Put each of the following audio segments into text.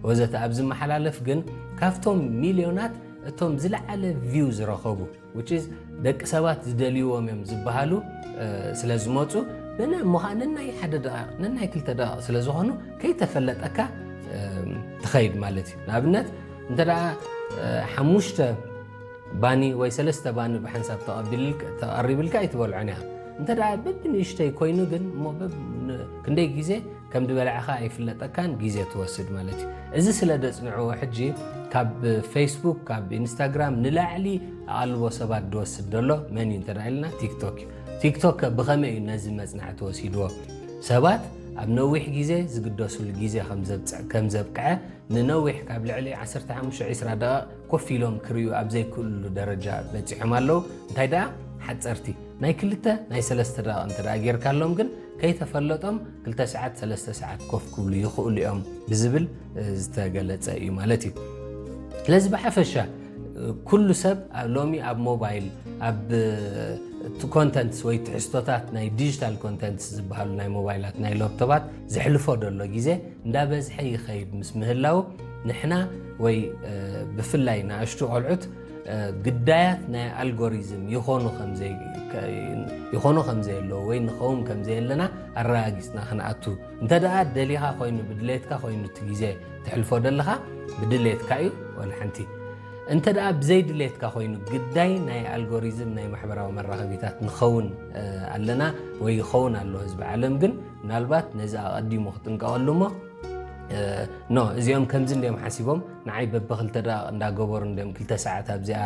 ወዘተ ኣብ ዝመሓላለፍ ግን ካብቶም ሚልዮናት እቶም ዝለዓለ ቪው ዝረኸቡ which is ደቂ ሰባት ዝደልይዎም እዮም ዝበሃሉ ስለ ዝመፁ ብነ ምዃ ነናይ ሓደ ደቂቕ ነናይ ክልተ ደቂቕ ስለ ዝኾኑ ከይተፈለጠካ ትኸይድ ማለት እዩ። ንኣብነት እንተ ደኣ ሓሙሽተ ባኒ ወይ ሰለስተ ባኒ ብሓንሳብ ተቐሪብልካ ኣይትበልዖን ኢኻ። እንተ ደኣ በብንእሽተይ ኮይኑ ግን እሞ ክንደይ ግዜ ከም ዝበላዕኻ ኣይፍለጠካን ግዜ ትወስድ ማለት እዩ። እዚ ስለ ደጽንዕዎ ሕጂ ካብ ፌስቡክ ካብ ኢንስታግራም ንላዕሊ ኣቓልቦ ሰባት ዝወስድ ዘሎ መን እዩ እንተ ኢልና ቲክቶክ እዩ። ቲክቶክ ብኸመይ እዩ ነዚ መጽናዕቲ ወሲድዎ? ሰባት ኣብ ነዊሕ ግዜ ዝግደሱሉ ግዜ ከም ዘብቅዐ ንነዊሕ ካብ ልዕሊ ዓሰርተ ሓሙሽተ ዒስራ ደቂቕ ኮፍ ኢሎም ክርእዩ ኣብ ዘይክእልሉ ደረጃ በጺሖም ኣለዉ። እንታይ ደኣ ሓጸርቲ ናይ ክልተ ናይ ሰለስተ ደቂቕ እንተ ደኣ ጌርካሎም ግን ከይተፈለጦም ክልተ ሰዓት ሰለስተ ሰዓት ኮፍ ክብሉ ይኽእሉ እዮም ብዝብል ዝተገለጸ እዩ ማለት እዩ። ስለዚ ብሓፈሻ ኩሉ ሰብ ሎሚ ኣብ ሞባይል ኣብ ኮንተንትስ ወይ ትሕዝቶታት ናይ ዲጂታል ኮንተንትስ ዝበሃሉ ናይ ሞባይላት ናይ ላፕቶባት ዘሕልፎ ዘሎ ግዜ እንዳበዝሐ ይኸይድ ምስ ምህላው ንሕና ወይ ብፍላይ ንኣሽቱ ቆልዑት ግዳያት ናይ ኣልጎሪዝም ይኾኑ ከም ዘይ- ይኾኑ ከም ዘየለዉ ወይ ንኸውን ከም ዘየለና ኣረጋጊጽና ክንኣቱ እንተ ደኣ ደሊኻ ኮይኑ ብድሌትካ ኮይኑ እቲ ግዜ ትሕልፎ ደለኻ ብድሌትካ እዩ ወላ ሓንቲ እንተ ደኣ ብዘይ ድሌትካ ኮይኑ ግዳይ ናይ ኣልጎሪዝም ናይ ማሕበራዊ መራኸቢታት ንኸውን ኣለና ወይ ይኸውን ኣሎ ህዝቢ ዓለም ግን ምናልባት ነዚ ኣቐዲሙ ክጥንቀቐሉ እሞ ኖ እዚኦም ከምዚ እንዲኦም ሓሲቦም ንዓይ በብክልተ ደቂቕ እንዳገበሩ እንዲኦም ክልተ ሰዓት ኣብዚኣ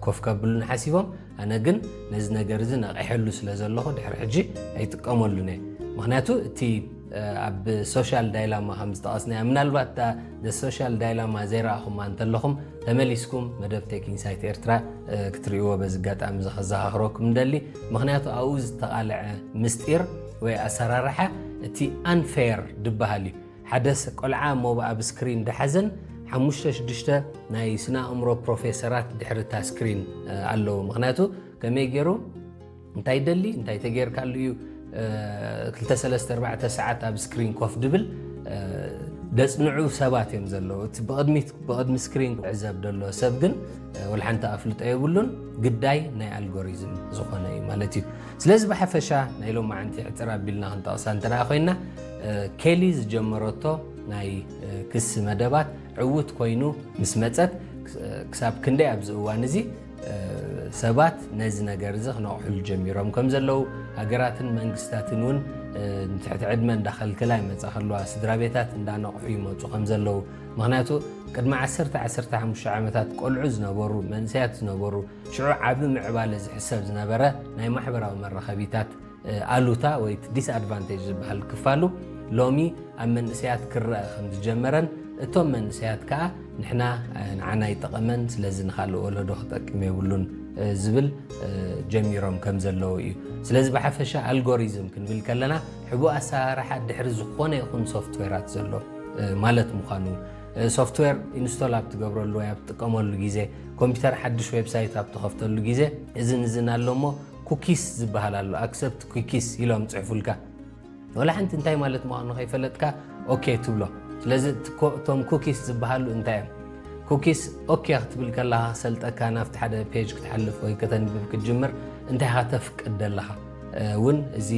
ኮፍ ከብሉን ሓሲቦም ኣነ ግን ነዚ ነገር እዚ ነቒሐሉ ስለ ዘለኹ ድሕሪ ሕጂ ኣይጥቀመሉን እየ ምክንያቱ እቲ ኣብ ሶሻል ዳይላማ ከም ዝጠቐስናዮ ምናልባት ሶሻል ዳይላማ ዘይረኣኹማ እንተለኹም ተመሊስኩም መደብ ቴክ ኢንሳይት ኤርትራ ክትርእይዎ በዚ ኣጋጣሚ እዚ ከዘኻኽረኩም እንደሊ ምክንያቱ ኣብኡ ዝተቓልዐ ምስጢር ወይ ኣሰራርሓ እቲ ኣንፌር ድበሃል እዩ ሓደ ቆልዓ እሞ ኣብ ስክሪን ደሓዘን ሓሙሽተ ሽዱሽተ ናይ ስነ ኣእምሮ ፕሮፌሰራት ድሕሪ እታ ስክሪን ኣለዉ ምክንያቱ ከመይ ገይሩ እንታይ ደሊ እንታይ ተገይርካሉ እዩ ክልተ ሰለስተ ኣርባዕተ ሰዓት ኣብ ስክሪን ኮፍ ድብል ደጽንዑ ሰባት እዮም ዘለዉ እቲ ብቕድሚት ብቕድሚ ስክሪን ክዕዘብ ደሎ ሰብ ግን ወላ ሓንቲ ኣፍልጦ የብሉን ግዳይ ናይ ኣልጎሪዝም ዝኾነ እዩ ማለት እዩ ስለዚ ብሓፈሻ ናይ ሎማዓንቲ ሕፅር ኣቢልና ክንጠቕሳ እንተ ኮይና ኬሊ ዝጀመረቶ ናይ ክሲ መደባት ዕዉት ኮይኑ ምስ መፀት ክሳብ ክንደይ ኣብዚ እዋን እዚ ሰባት ነዚ ነገር እዚ ክነቕሕሉ ጀሚሮም ከም ዘለዉ ሃገራትን መንግስታትን እውን ንትሕቲ ዕድመ እንዳኸልከላ ይመፃ ከለዋ ስድራ ቤታት እንዳነቕሑ ይመፁ ከም ዘለዉ ምክንያቱ ቅድሚ ዓሰርተ ዓሰርተ ሓሙሽተ ዓመታት ቆልዑ ዝነበሩ መንእሰያት ዝነበሩ ሽዑ ዓቢ ምዕባለ ዝሕሰብ ዝነበረ ናይ ማሕበራዊ መራኸቢታት ኣሉታ ወይ ዲስኣድቫንቴጅ ዝበሃል ክፋሉ ሎሚ ኣብ መንእሰያት ክረአ ከም ዝጀመረን እቶም መንእሰያት ከኣ ንሕና ንዓና ይጠቐመን ስለዚ ንኻልእ ወለዶ ክጠቅም የብሉን ዝብል ጀሚሮም ከም ዘለዉ እዩ። ስለዚ ብሓፈሻ ኣልጎሪዝም ክንብል ከለና ሕቡእ ኣሰራርሓ ድሕሪ ዝኾነ ይኹን ሶፍትዌራት ዘሎ ማለት ምዃኑ ሶፍትዌር ኢንስቶል ኣብ ትገብረሉ ወይ ኣብ ትጥቀመሉ ግዜ ኮምፒውተር ሓድሽ ዌብሳይት ኣብ ትኸፍተሉ ግዜ እዝን እዝን ኣሎ እሞ ኩኪስ ዝበሃል ኣሎ ኣክሰፕት ኩኪስ ኢሎም ፅሕፉልካ ወላ ሓንቲ እንታይ ማለት ምዃኑ ከይፈለጥካ ኦኬ ትብሎ ስለዚ እቶም ኩኪስ ዝበሃሉ እንታይ እዮም ኩኪስ ኦኬ ክትብል ከለካ ክሰልጠካ ናብቲ ሓደ ፔጅ ክትሓልፍ ወይ ከተንብብ ክትጅምር እንታይ ኢካ ተፍቅድ ዘለካ እውን እዚ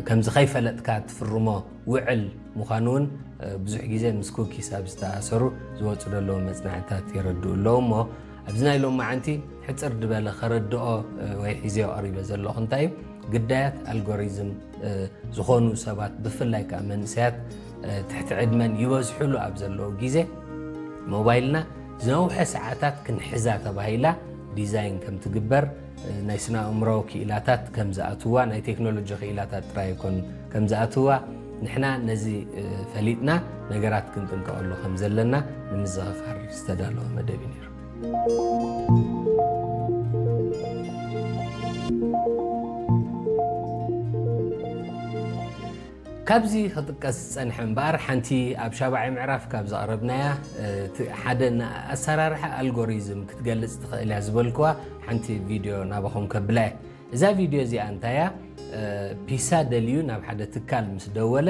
ከምዚ ከይፈለጥካ ትፍርሞ ውዕል ምዃኑ እውን ብዙሕ ግዜ ምስ ኩኪስ ኣብ ዝተኣሰሩ ዝወፁ ዘለዉ መፅናዕትታት የረድኡ ኣለዉ እሞ ኣብዚ ናይ ሎማዓንቲ ሕፅር ዝበለ ከረድኦ ወይ ሒዘዮ ቀሪበ ዘለኹ እንታይ እዩ ግዳያት ኣልጎሪዝም ዝኾኑ ሰባት ብፍላይ ከዓ መንእሰያት ትሕቲ ዕድመን ይበዝሕሉ ኣብ ዘለዉ ግዜ ሞባይልና ዝነውሐ ሰዓታት ክንሕዛ ተባሂላ ዲዛይን ከም ትግበር ናይ ስነ ኣእምሮ ክኢላታት ከም ዝኣትዋ ናይ ቴክኖሎጂ ክኢላታት ጥራይ ይኮኑ ከም ዝኣትዋ ንሕና ነዚ ፈሊጥና ነገራት ክንጥንቀቐሉ ከም ዘለና ንምዝኽኻር ዝተዳለወ መደብ እዩ ነይሩ። ካብዚ ክጥቀስ ዝጸንሐ እምበኣር ሓንቲ ኣብ ሻብዓይ ምዕራፍ ካብ ዘቕረብናያ ሓደ ኣሰራርሓ ኣልጎሪዝም ክትገልጽ ትኽእል እያ ዝበልክዋ ሓንቲ ቪድዮ ናባኹም ከብላ እየ። እዛ ቪድዮ እዚኣ እንታያ ፒሳ ደልዩ ናብ ሓደ ትካል ምስ ደወለ